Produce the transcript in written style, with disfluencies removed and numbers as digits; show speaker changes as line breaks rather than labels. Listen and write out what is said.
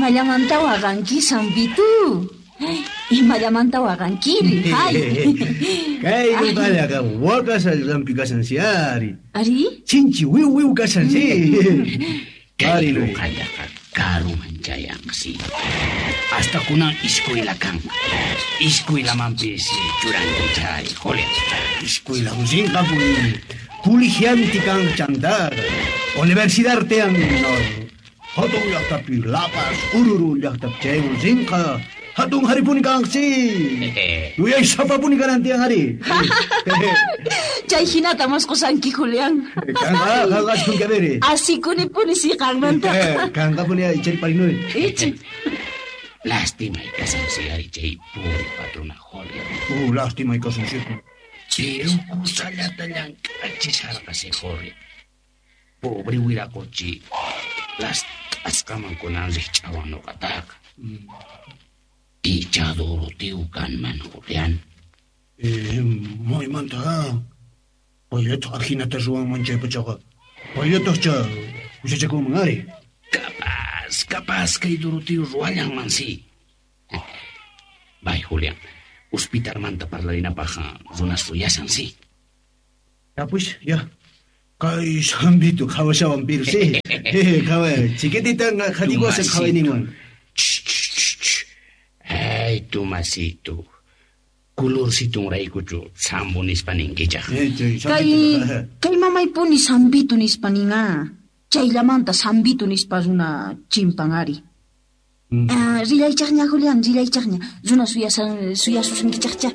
Imallamanta waqanki, Sambitu? Imallamanta waqankiri? Hay.
Kay nuqallaqa waqashallampi kashan si ari.
Ari?
Chinchi wiu wiu kashan si.
Kay
Ari, no.
nuqallaqa karuman chayanqsi. Hasta kunan iskuyla kan. Iskuylamanpis churanki chay, Julián.
Escuela rinqapuni. Colegiante kan chantaqa. Universidad tean hatun llaqtapi La Paz, Oruro llaqtapi chayman rinqa. Hatun haripuni kanqsi. Yuyaysapapuni kanan tiyan ari.
Chay hinata mosqosanki, Julián.
Kanqa, kanqa askun kabere.
Asikunipuni si qanmanta.
Kanqapuni ay chay parinuy.
Ichi.
Lástima kashan si ari chay pobre patrona Julia.
Lástima kasan si.
Chiru kusallata llank'achisharqasi Jorge. Pobre wiraqochi. Last'asqaman kunan rikch'awan nuqataqa. Icha Doroteo kanman, Julián.
Maymanta Payllataj ajinata ruwanman chay pachaqa. Payllatajcha huchachakunman ari.
Capaz, capaz kay Doroteo ruwallanman si. Bay, Julián. Hospitalmanta parlarinapaj runas suyashan si.
Ya pues, ya. Kay Sambito qhawashawan pero si. Qhaway. Chiquititan qhatikuwasan qhawayninwan.
Ch, ch, ch, ch. Ay, Tomasito. Kulursitunraykuchu sambo nispa ninkichaj.
Chay
Kay,
Sambito.
kay mamaypuni Sambitu nispa nin ah. Chayllamanta Sambitu nispa runa chimpan ari. Ah, rillaychaqña, Julián, rillaychaqña. Runa suyasan, suyasusunkichaqcha.